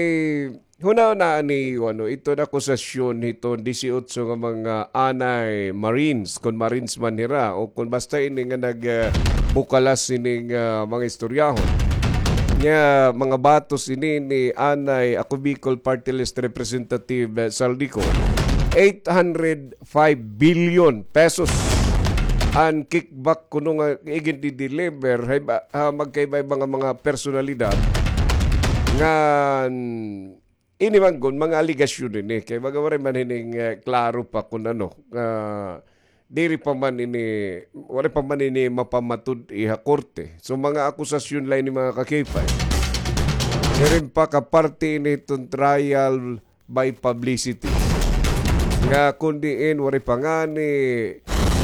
hunahunaa niyo, ano, iton akusasyon hiton disiotso nga mga anay Marines, kon Marines man hira, o kon basta ini nga nag, eh, bukalas ini nga mga istoryahon. Nga mga batos ini ni anay Ako Bicol Party List Representative, eh, Zaldy Co. Eight hundred five billion pesos an kickback kuno nga igindi-deliver ha iba, ha magkaiba-iba nga mga personalidad ngan ini man gun mga alegasyon ini kay baga waray man hining, eh, klaro pa kun ano, ah, diri pa man ini, waray pa man ini mapamatud-i ha korte. So mga akusasyon la ini mga ka-K five. Siring pa ka parte ini hiton trial by publicity. Nga kun diin waray pa ngani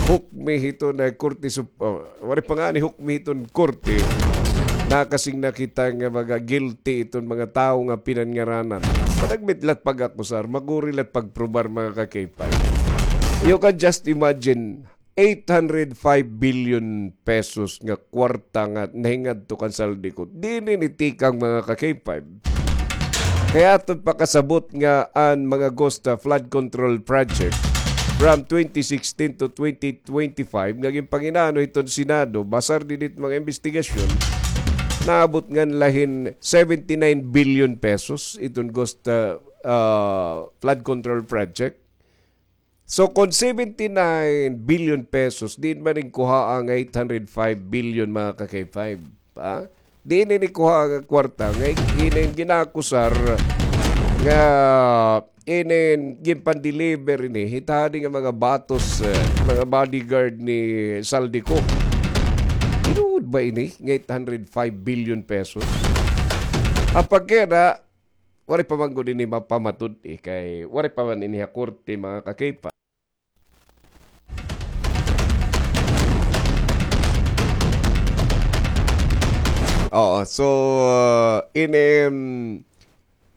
hukmi hiton, eh, korte sup-, oh, waray pa ngani hukmi hiton korte, nakasing na kita nga mga guilty iton mga tawo nga pinanngaranan. Panagmit la it pag-akusar, maguri la it pagprobar, mga ka-K five. You can just imagine, eight hundred five billion pesos nga kwarta nga nahingadto kan Zaldy Co. Diin ini tikang, mga ka-K five? Kay aton pakasabot nga an mga ghost, ah, flood control project from twenty sixteen to twenty twenty-five nga ginpanginano hiton Senado, basar didit mga imbestigasyon, naabot ngan la hin seventy-nine billion pesos iton ghost, ah, ah, flood control project. So, kon seventy-nine billion pesos, diin man in kuhaa nga eight hundred five billion, mga ka-K five, ha? Diin ini kuhaa nga kwarta nga in-, inin ginakusar nga inin ginpan-deliver ini hit adi nga mga batos, eh, mga bodyguard ni Zaldy Co. Tinuod ba ini nga eight hundred five billion pesos? Apagkera, waray pa man gud ini mapamatud-i kay waray pa man ini ha korte, mga ka-K five. Oo, so, uh, ini, um,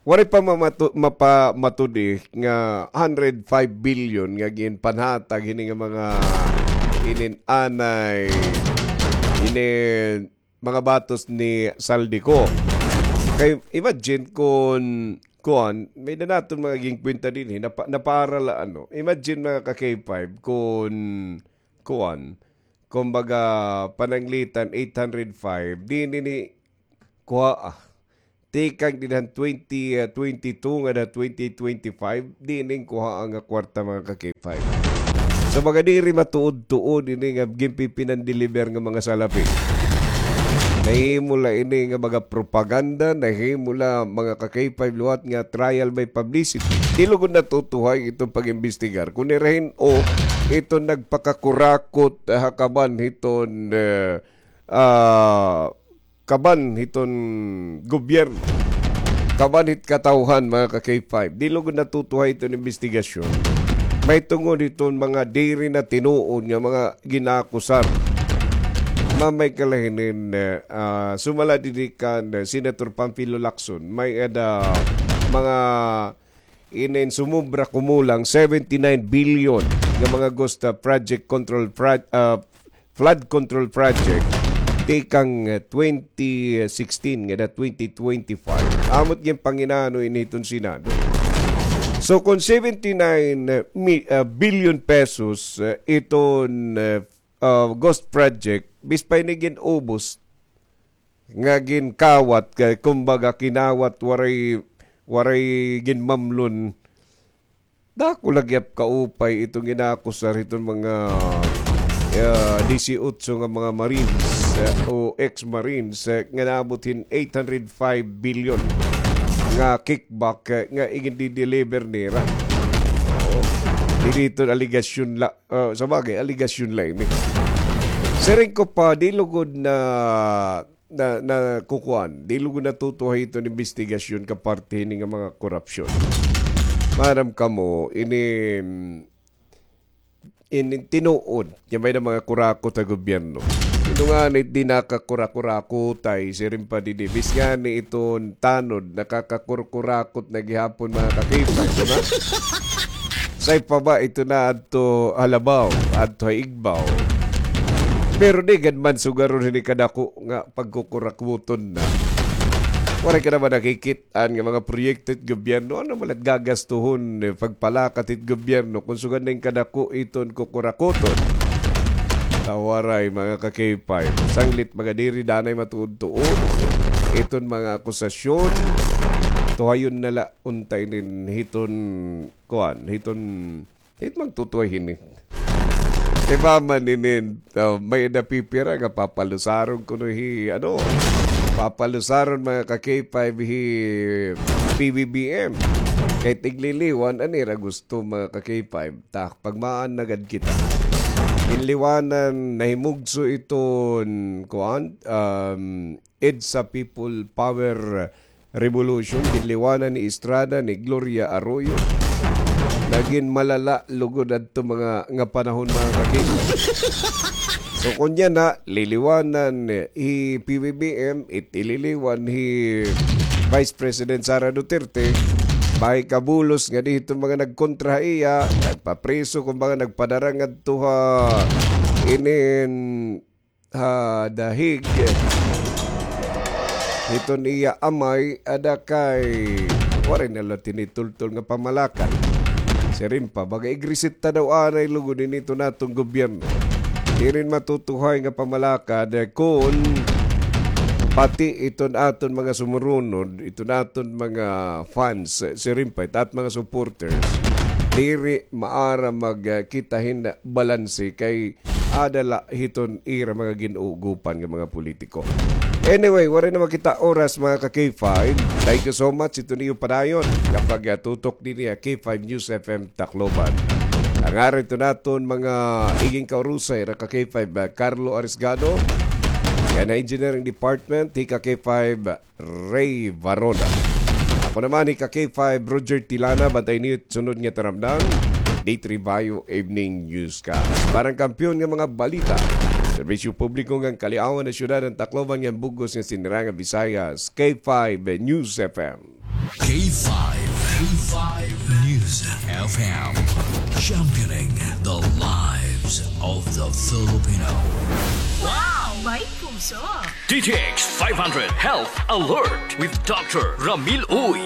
Waray pa mamatu-, mapa-, matudi nga hundred five billion nga ginpanhatag hini nga mga inin-anay, inin mga batos ni Zaldy Co. Kay imagine kun kuan, may-ada naton mga ginkwenta dinhi, napa-, napara la, ano. Imagine, mga ka-K five, kun kuan, kumbaga, pananglitan eight hundred five, diin ini kuhaa. Tikang dinhan twenty, ah, twenty-two ngada twenty twenty-five, diin ini kuhaa nga kwarta, mga ka-K five. So, baga diri matuod-tuod ini nga ginpipinandeliver nga mga salapi. Nahimo la ini nga mga propaganda, nahimo la, mga ka-K five, liwat nga trial by publicity. Di lugod natutuhay iton pag-imbestigar. Kun irahin o iton nagpakakurakot, ah, kaban hiton, eh, ah, kaban hiton gobyerno, kaban hit katawhan, mga ka-K five. Di lugod natutuhay iton imbestigasyon. Mahitungod hiton mga diri na tinuod nga mga ginakusar. Mamay kala hinin, eh, ah, sumala didi kan, eh, Senator Panfilo Lacson, may-ada mga inin sumobra kumulang seventy-nine billion nga mga ghost, ah, project control pro-, ah, flood control project tikang, ah, twenty sixteen ngada twenty twenty-five. Amo it ginpanginano ini hiton Senado. So, kun seventy-nine, ah, mi-, ah, billion pesos, ah, iton, ah, ah, ghost project, bis pa ini gin-ubos, nga ginkawat, kay kumbaga kinawat, waray, waray ginmamlon. Dako la gihap kaupay iton ginakusar hiton mga, ah, disiotso nga mga Marines, ah, o ex-Marines, ah, nga naabot hin eight hundred five billion nga kickback, ah, nga igindideliver nira. Oo. Diri iton alegasyon la, ah, sa bagay, alegasyon la ini. Siring ko pa, di lugod na na, na kukuan, di lugod natutuhay iton imbestigasyon ka parte hini nga mga korupsyon. Maaram kamo, ini, ini tinuod nga may-ada mga kurakot ha gobyerno. Ito nga ni, di nakakurakurakotay, siring pa didi. Bis ngani iton tanod, nakakakurkurakot na gihapon, mga ka-K five, di ba? Say pa ba ito na adto Halabao, adto ha Igbaw. Pero di gad man sugaron hini kadako nga pagkukurakuton na. Waray ka naman nakikit-an nga mga proyekto it gobyerno. Ano man it gagastuhon, eh, pagpalakat it gobyerno kung sugad na kadako iton kukurakuton? Tawaray, mga ka-K five. Sanglit mga diri danay matuod-tuod iton mga akusasyon. Tuhayon na la unta inin hiton kuan, hiton, hit magtutuhay hini. Di ba man inin, ah, may-ada pipira nga papalusaron kuno hi, ano, papalusaron, mga ka-K five, hi P B B M. Kay tigliliwan an ira gusto, mga ka-K five. Ta, pagmaan na gad kita. Ginliwanan, nahimugso iton, kuan, um, EDSA People Power Revolution, ginliwanan ni Estrada, ni Gloria Arroyo. Nagin malala lugod adto mga nga panahon, mga ka-K five. So, kunya na, liliwanan, eh, hi P B B M, it ililiwan hi Vice President Sara Duterte, may kabulos nga di hiton mga nagkontra ha iya, nagpapriso, kumbaga nagpadara ngadto ha inin ha dahig hiton iya amay, ada kay waray na la tinitultol nga pamalakad. Siring pa, baga igrisita daw anay lugod ini iton aton gobyerno. Diri matutuhay nga pamalakad, eh, kun pati iton aton mga sumurunod, iton aton mga fans, eh, siring pa, it at mga supporters, diri maaram magkita hin balanse kay ada la hiton ira mga gin-uugopan nga mga politiko. Anyway, waray na man kita oras, mga ka-K five. Thank you so much. Iton iyo padayon nga pagtutok dinhi ha K five News F M Tacloban. An ngaran hiton aton mga igin kaurusay, ira ka-K five, ah, Carlo Arisgado. Yana engineering department, hi ka-K five, Ray Varona. Ako naman, hi ka-K five, Roger Tilana. Bantay niyo sunod nga taramdan. Day three Bayo Evening Newscast. Para han kampiyon nga mga balita, serbisyo publiko ngan kaliawan ha syudad han Tacloban ngan bug-os nga sinirangan Visayas, K five News F M. K five, K five News F M, championing the lives of the Filipino. Wow! May puso! D T X five hundred Health Alert with Doctor Ramil Uy.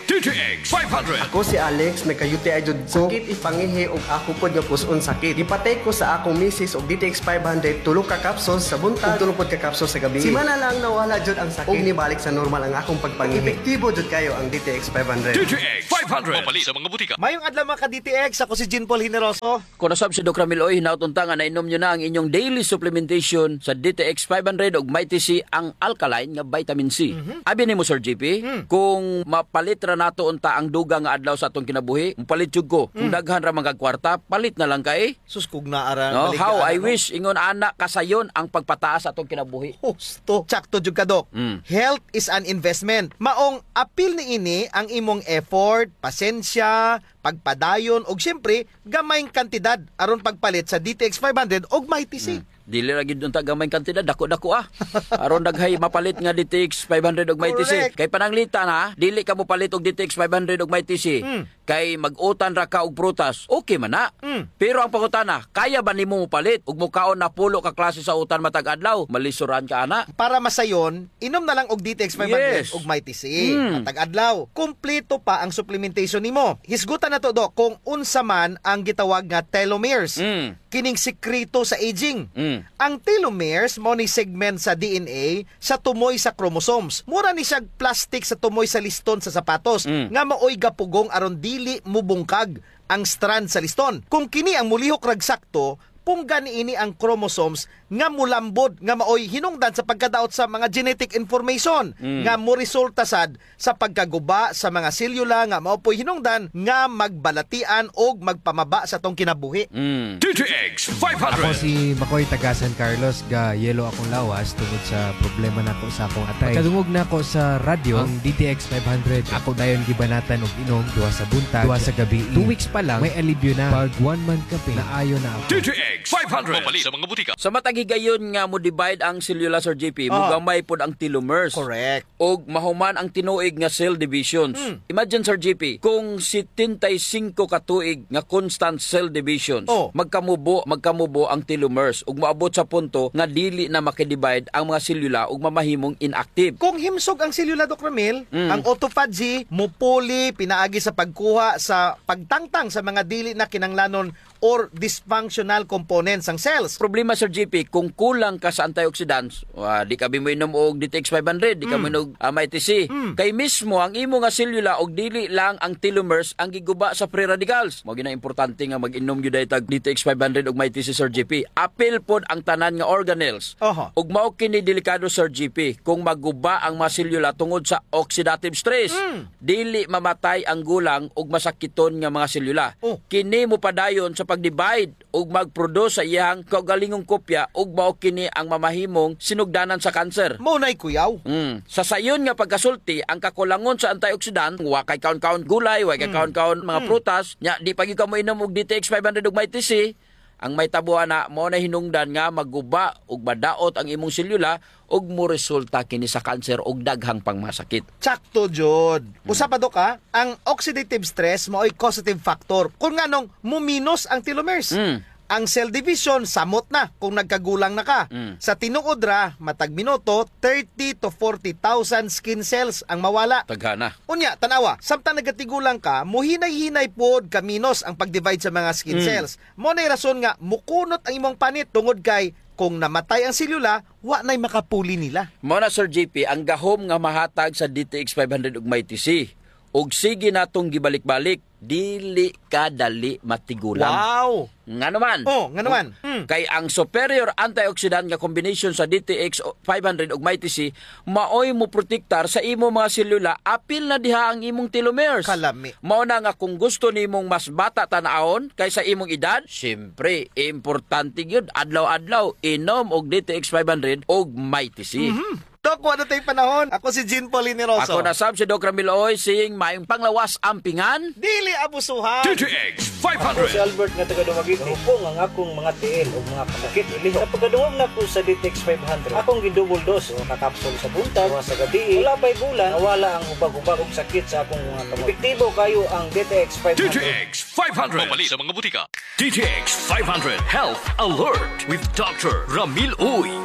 D T X five hundred. Ako si Alex, nagka-U T I jud ko. Sakit it pangihi ug ako pod nga pus-on sakit. Gipatake ko sa akong misis og D T X five hundred, tulo ka capsules sa buntag ug tulo pod ka capsules sa gabii. Simana lang nawala jud ang sakit ug nibalik sa normal ang akong pagpangihi. Epektibo jud kayo ang D T X five hundred. D T X five hundred. Mapalit sa mga butika. Mayong adlaw, mga ka-D T X. Ako si Jean Paul Generoso. Kon nasab si Doc Ramil Uy, hinaot unta nga nainom niyo na ang inyong daily supplementation sa D T X five hundred ug Mighty C, ang alkaline nga vitamin C. Mhm. Abi nimo, Sir G P, hmm, kung mapalit ra nato unta ang dugang nga adlaw sa atong kinabuhi, mopalit jud ko. Kung, hmm, daghan ra man kag kwarta, palit na lang kay. Sus, kung naa ra, no? How I wish, ingon ana, kasayon ang pagpataas sa atong kinabuhi. Husto. Tsakto jud ka, Doc. Mm. Health is an investment. Maong apil niini ang imong effort, pasensya, pagpadayon, ug siyempre, gamayng kantidad aron pagpalit sa D T X five hundred ug Mighty C. Hmm. Dili ra gyud unta gamayng kantidad, dako-dako, ah. Aron daghay mapalit nga D T X five hundred ug Mighty C. Correct. Kay pananglitan, ha, dili ka mopalit og D T X five hundred ug Mighty C. Hmm. Kay mag-utan ra ka og prutas, okay man na. Hmm. Pero ang pangutana, kaya ba nimo mopalit ug mokaon napulo ka klase sa utan matag adlaw? Malisuran ka ana. Para masayon, inom na lang og D T X five hundred, yes, ug Mighty C. Hmm. Matag adlaw. Kumpleto pa ang supplementation nimo. Hisgutan nato, Doc, kung unsa man ang gitawag nga telomeres. Mm. Kining sikreto sa aging. Mm. Ang telomeres mao ni segment sa D N A sa tumoy sa chromosomes. Mura ni siya plastic sa tumoy sa liston sa sapatos, mm, nga maoy gapugong aron dili mubungkag ang strand sa liston. Kung kini ang mulihok rag sakto, pungga niini ang chromosomes nga mulambod, nga maoy hinungdan sa pagkadaot sa mga genetic information, mm, nga moresulta sad sa pagkaguba sa mga selyula nga mao po'y hinungdan nga magbalatian og magpamaba sa atong kinabuhi. Mm. D T X five hundred. Ako si Makoy, taga San Carlos, ga-yellow akong lawas tungod sa problema nako sa akong atay. Pagkadungog nako sa radyo, ang D T X five hundred, ako dayon gibanatan og inom, duha sa buntag, duha sa gabii. Two weeks pa lang, may alibyo na. Pag one month ka pin, naayo na ako. D T X five hundred. Mapalit sa mga butika. Sa matag higayon nga mo-divide ang selyula, Sir J P, ah, mogamay pod ang telomeres. Correct. Ug mahuman ang tinuig nga cell divisions. Hmm. Imagine, Sir J P, kung setenta y cinco ka tuig nga constant cell divisions, oh, magkamubo, magkamubo ang telomeres ug moabot sa punto nga dili na makidivide ang mga selyula ug mamahimong inactive. Kung himsog ang selyula, Doc Ramil, mm, ang autophagy mupuli pinaagi sa pagkuha sa pagtangtang sa mga dili na kinahanglanon or dysfunctional components sang cells. Problema, Sir J P, kung kulang ka sa antioxidants, wa, di ka bi moinom og D T X five hundred, di ka, mm, moinom og, ah, Mighty C. Mm. Kay mismo ang imo nga selula og dili lang ang telomeres ang giguba sa free radicals. Mao gyud na importante nga mag-inom gyud tag D T X five hundred og Mighty C, Sir J P. Apil pod ang tanan nga organelles. Oho. Ug mao kini delikado, Sir J P, kung maguba ang mga selula tungod sa oxidative stress. Mm. Dili mamatay ang gulang ug masakiton nga mga selula. Oh. Kini mopadayon sa pag-divide ug mag-produce sa iyahang kaugalingong kopya ug mao kini ang mamahimong sinugdanan sa cancer. Mao nay kuyaw. Mm. Sa sayon nga pagkasulti, ang kakulangon sa antioxidant, wa kay kaon-kaon gulay, wa kay, mm, kaon-kaon mga, mm, prutas, nya di pa gyud ka moinom og D T X five hundred ug Mighty C, ang mahitabo ana, mao na hinungdan nga maguba ug madaot ang imong selula ug moresulta kini sa cancer ug daghang pang mga sakit. Tsakto jud. Mm. Usa pa, Dok, ha, ang oxidative stress maoy causative factor kun nganong muminos ang telomeres. Mm. Ang cell division, samot na kung nagkagulang na ka. Mm. Sa tinuod ra, matag minuto, thirty to forty thousand skin cells ang mawala. Daghana. Unya, tan-awa, samtang nagatigulang ka, muhinay-hinay pod kaminos ang pag-divide sa mga skin, mm, cells. Mao nay rason nga mukunot ang imong panit tungod kay kung namatay ang selula, wa nay makapuli nila. Mao na, Sir J P, ang gahom nga mahatag sa D T X five hundred ug Mighty C. Ug sige natong gibalik-balik, dili ka dali matigulang. Wow! Ngano man? Oh, ngano man? Mm. Kay ang superior antioxidant nga combination sa D T X five hundred ug Mighty C maoy moprotektar sa imo mga selula, apil na diha ang imong telomeres. Kalami. Mao na nga kung gusto nimong mas bata tan-awon kaysa imong edad, siyempre, importante gyud adlaw-adlaw inom og D T X five hundred og Mighty C. Mhm. Doc, wala tay panahon. Ako si Jean Paul Generoso. Ako na sab si Doc Ramil Uy, saying maayong panglawas, ampingan. Dili abusuhan. D T X five hundred. Ako si Albert nga taga Dumaguete. Hupong ang akong mga tiil ug mga kasakit. Sa pagkadungog nako sa D T X five hundred, akong gi-double dose, usa ka kapsul sa buntag, duha sa gabii. Wala pa'y bulan, nawala ang hubag-hubag ug sakit sa akong mga kamot. Epektibo kaayo ang D T X five hundred. D T X five hundred. Mapalit sa mga butika. D T X five hundred Health Alert with Doctor Ramil Uy.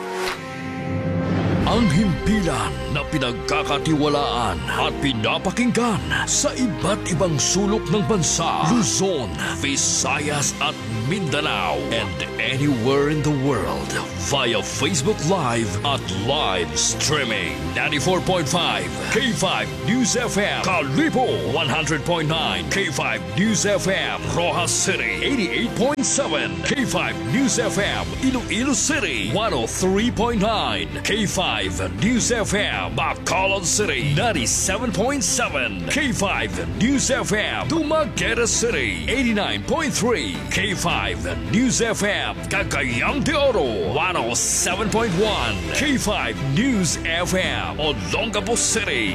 Ang himpilan na pinagkakatiwalaan at pinapakinggan sa iba't ibang sulok ng bansa, Luzon, Visayas at Mindanao, and anywhere in the world via Facebook Live at live streaming. Ninety-four point five K five News F M, Kalibo, one hundred point nine K five News F M, Roxas City, eighty-eight point seven K five News F M, Iloilo City, one oh three point nine K five News F M, Bacolod City, ninety-seven point seven K five News F M, Dumaguete City, eighty-nine point three K five News F M, Cagayan de Oro, one oh seven point one K five News F M, Olongapo City.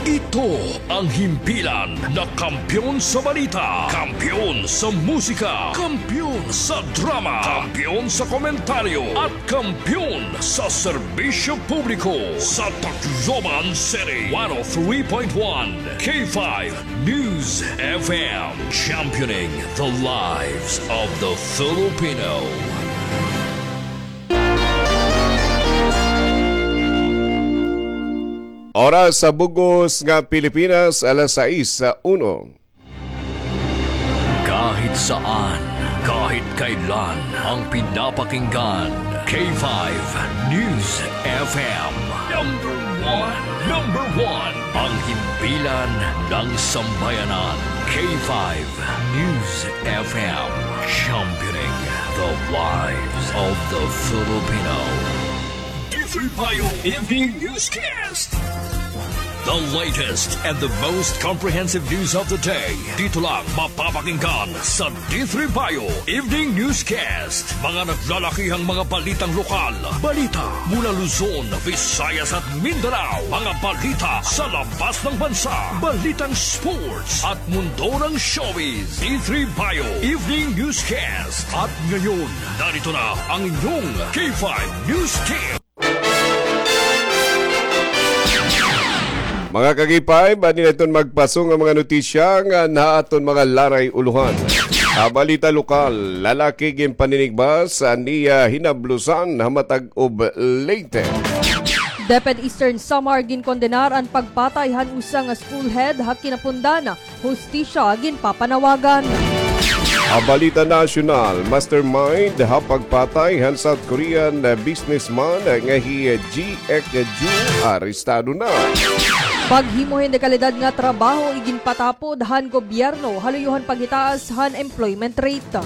Ito ang himpilan na kampiyon sa balita, kampiyon sa musika, kampiyon sa drama, kampiyon sa komentaryo, at kampiyon sa serbisyo publiko sa Tacloban City. One oh three point one K five News F M, championing the lives of the Filipino. Oras sa bug-os nga Pilipinas, alas sais uno. Kahit saan, kahit kailan, ang pinapakinggan, K five News F M. Number one, number one, ang himpilan ng sambayanan, K five News F M, championing the lives of the Filipino. D three Bio Evening Newscast. The latest and the most comprehensive news of the day. Dito lang mapapakinggan sa D three Bio Evening Newscast. Mga naglalakihang mga balitang lokal. Balita mula Luzon, Visayas at Mindanao. Mga balita sa labas ng bansa. Balitang sports at mundo ng showbiz. D three Bio Evening Newscast. At ngayon, narito na ang inyong K five News Team. Mga ka-K five, adi na iton magpaso nga mga notisya nga ha aton mga laray ulohan. Ha balita lokal, lalaki ginpaninigbas an iya hinablosan ha Matagob, Leyte. DepEd Eastern Samar ginkondenar an pagpatay han usa nga school head ha Kinapundan. Hustisya ginpapanawagan. Ha balita nasyonal, mastermind ha pagpatay han South Korean businessman nga hi Ji Ek Ju arestado na. Paghimo hin dekalidad nga trabaho iginpatapod han gobyerno ha luyo han paghitaas han employment rate.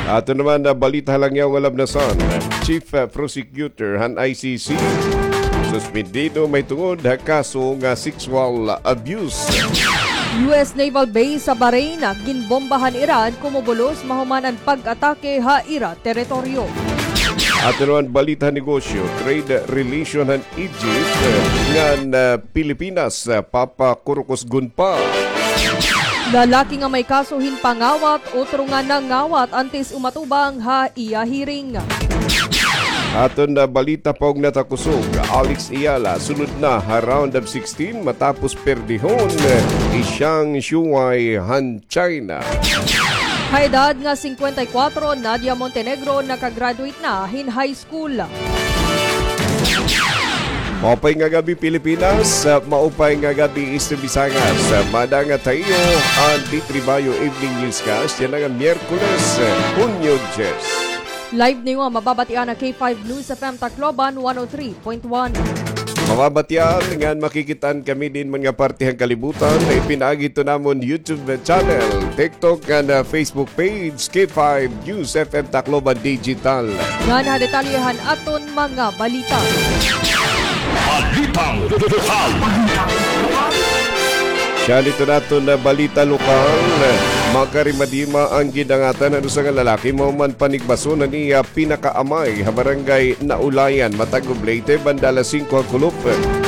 Aton naman nga balita ha langyaw nga labnasan, Chief Prosecutor han I C C, suspendido mahitungod ha kaso nga sexual abuse. U S naval base sa Bahrain ginbomba han Iran, kumubulos mahuman an pag-atake ha ira teritoryo. Aton naman balita ha negosyo, trade relation han Egypt ngan Pilipinas papakurukusgon pa. Lalaki nga may kaso hin pangawat, utro nga nangawat antes umatubang ha iya hearing. Aton nga balita pa ug natakusog, Alex Eala sulod na ha round of sixteen matapos perdihon hi Zhang Shuai han China. Ha edad nga singkwenta y kwatro, Nadia Montenegro nakagraduate na hin high school. Maupay nga gab-i, Pilipinas. Maupay nga gab-i, Eastern Visayas. Mada nga ha iyo an D three Bio Evening Newscast yana nga Miyerkules, Hunyo diyes. Live niyo nga mababatian ha K five News F M Tacloban one oh three point one. Mababatian ngan makikit-an kami din man nga parte han kalibutan, ipinaagi hito namon YouTube channel, TikTok, ngan, ah, Facebook page, K five News F M Tacloban Digital. Ngan ha detalye han aton mga balita. Balitang lokal. Siya nito naton nga balita lokal. Makarimadima an gindangatan han usa nga lalaki mahuman panigbason han iya pinakaamay ha barangay Naulayan, Matagob, Leyte, banda alas singko ha kulop.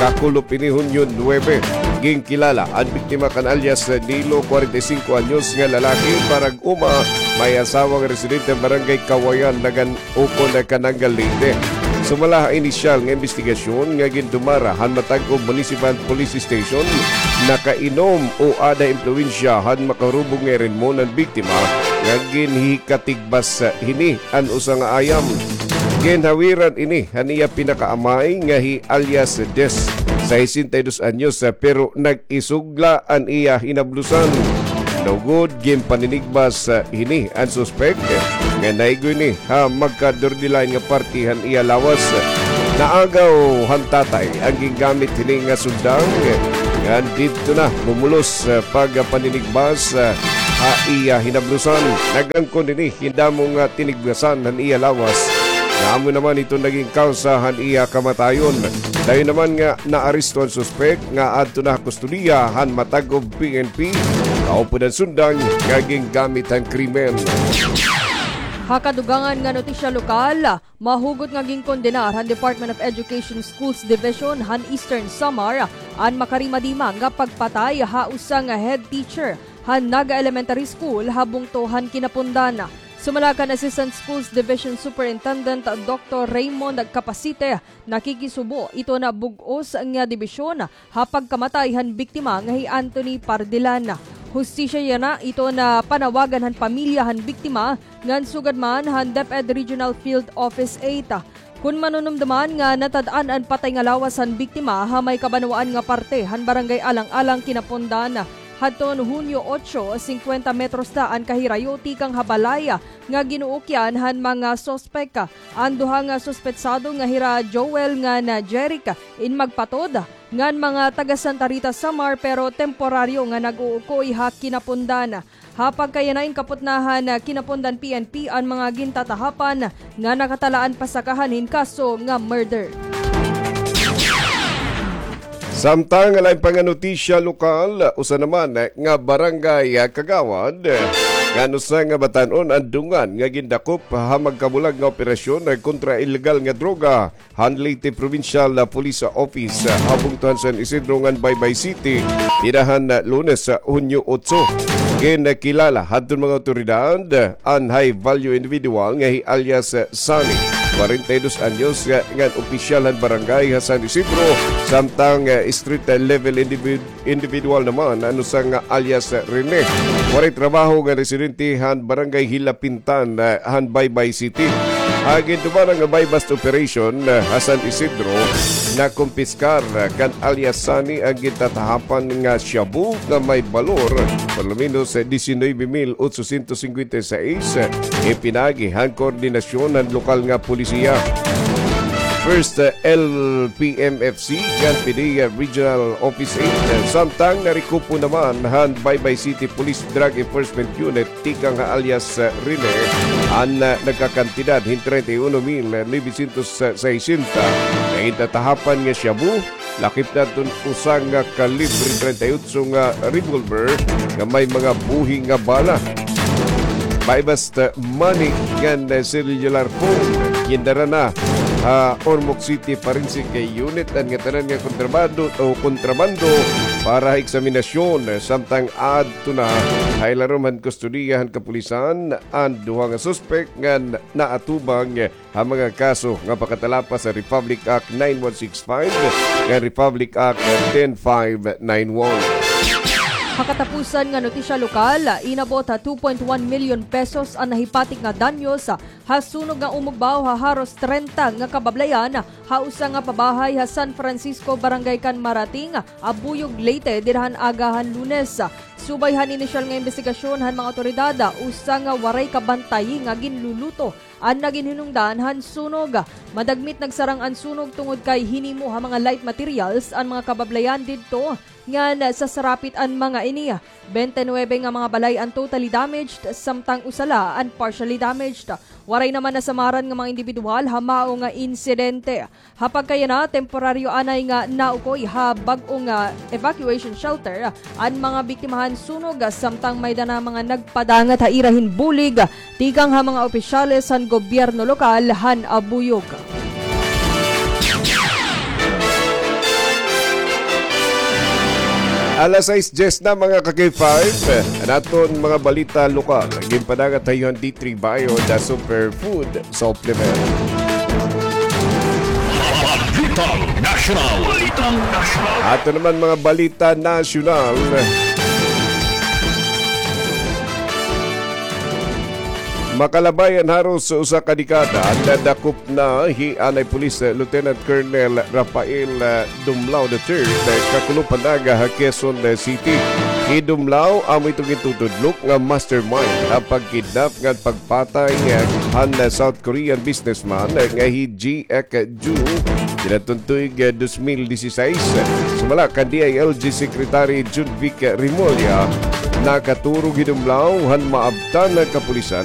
Kakulop ini, Hunyo nuwebe. Ginkilala an biktima kan alias Nilo, kwarenta y singko anyos nga lalaki, parag-uma, may asawa nga residente han barangay Kawayan, Nagan ukon Kanangal, Leyte. Sumala ha inisyal nga imbestigasyon nga gindumara han Matagob Municipal Police Station, nakainom o aada ha impluwensya han makahurubog nga irinmon an biktima nga ginhikatigbas hini an usa nga ayam. Ginhawiran ini han iya pinakaamay nga hi alias Des, sesenta y dos anyos, pero nag-isugla an iya hinablusan. Lugod ginpaninigbas hini an suspek nga naigo ini ha magkadurdilain nga parte han iya lawas. Naagaw han tatay an gingamit hini nga sundang, ngan didto na bumulos pagpaninigbas ha iya hinablusan. Nag-angkon ini hin damo nga tinigbasan han iya lawas, nga amo naman ito naging kawsa han iya kamatayon. Dayon naman nga naaresto an suspek nga adto na ha kustodiya han Matagob P N P, kaupod an sundang nga gingamit han krimen. Ha kadugangan nga notisya lokal, mahugot nga ginkondenar han Department of Education Schools Division han Eastern Samar an makarimadima nga pagpatay ha usa nga head teacher han Naga Elementary School ha bungto han kinapundan. Sumala kan Assistant Schools Division Superintendent Doktor Raymond Capacite, nakikisubo iton bug-os nga dibisyon ha pagkamatay han biktima nga hi Anthony Pardilan. Hustisya yana iton panawagan han pamilya han biktima ngan sugad man han DepEd Regional Field Office eight. Kon manunumdoman nga natad-an an patay nga lawas han biktima ha may kabanwaan nga parte han Barangay Alang-alang, Kinapondan, hadton Hunyo otso, singkwenta metros la an kahirayo tikang ha balay nga ginuukyan han mga suspek. An duha nga suspetsado nga hira Joel ngan Jeric in magpatod ngan mga taga Santa Rita, Samar, pero temporaryo nga nag-uukoy ha Kinapondan. Ha pagkayana, inkapot na han Kinapondan P N P an mga gintatahapan nga nakatalaan pasakahan hin kaso nga murder. Samtang ha lain pa nga notisya lokal, usa naman nga barangay kagawad ngan usa nga batan-on an dungan nga gindakop ha magkabulag nga operasyon kontra illegal nga droga han Leyte Provincial Police Office ha bungto han San Isidro ngan Baybay City, dida han Lunes, Hunyo otso. Ginkilala hadton mga awtoridad an high value individual nga hi alias Sunny, kwarenta y dos anyos, ngan opisyal han barangay ha San Isidro, samtang street level individ- individual naman an usa nga alias Rene. Waray trabaho nga residente han Barangay Hilapintan, ah, han Baybay City. Ha gindumara nga buy-bust operation, ah, ha San Isidro, nakumpiskar, ah, kan alias Sunny an gintatahapan nga shabu nga may balor por lo menos, ah, diecinueve mil ochocientos cincuenta y seis, ah, ipinagi han koordinasyon han lokal nga polisiya. First, ah, L P M F C, ngan P D E A Regional Office eight. Samtang narekupo naman han Baybay City Police Drug Enforcement Unit tikang ha alias, ah, Rene an, ah, nagkakantidad hin treinta y uno mil novecientos sesenta nga gintatahapan nga shabu, lakip hadton usa nga kalibre treinta y otso nga revolver nga may mga buhi nga bala. Buy-bust money ngan cellular phone. Gindara na ha Ormoc City Forensic Unit an ngatanan nga kontrabando o kontrabando para ha eksaminasyon, samtang adto na ha ilarom han kustodiya han kapulisan an duha nga suspek ngan naatubang ha mga kaso nga pakatalapas sa Republic Act nine one six five ngan Republic Act ten five nine one. Ha katapusan nga notisya lokal, inabot ha two point one milyon pesos an nahipatik nga danyos ha sunog nga umugbaw ha haros treinta nga kabablayan ha usa nga pabahay ha San Francisco, Barangay kan Marating, Abuyog, Leyte, dida han aga han Lunes. Subay han inisyal nga imbestigasyon han mga awtoridad, usa nga waray kabantay nga ginluluto an nagin hinungdan han sunog. Madagmit nagsarang an sunog tungod kay hinimo ha mga light materials an mga kabablayan didto, ngan sasarapit an mga ini. Bente nuwebe nga mga balay an totally damaged, samtang usa la an partially damaged. Waray naman nasamaran nga mga indibidwal ha mao nga insidente. Ha pagkayana, temporaryo anay nga naukoy ha bag-o nga evacuation shelter an mga biktima han sunog, samtang may-ada na mga nagpadangat ha ira hin bulig tikang ha mga opisyales han gobyerno lokal han Abuyog. Alas sais dyes na, mga ka-K five. An aton mga balita lokal ginpadangat ha iyo han D three Bayo, the superfood supplement. Balitang Nasyonal. Balitang Nasyonal. Ato naman mga balita nasyonal. Makalabay an haros usa ka dekada, nadakop na hi anay Police Lieutenant Colonel Rafael, ah, Dumlao the third, ah, kakulop han Naga ha Quezon City. Hi Dumlao amo iton gintutudlok nga mastermind ha pagkidnap ngan pagpatay, ah, han, ah, South Korean businessman, ah, nga hi Ji Ek Ju, dinadton tuig, ah, dos mil disisais. Sumala kan D I L G Secretary Jun Vic Remulla, nakaturog hi Dumlao han maabtan nga kapulisan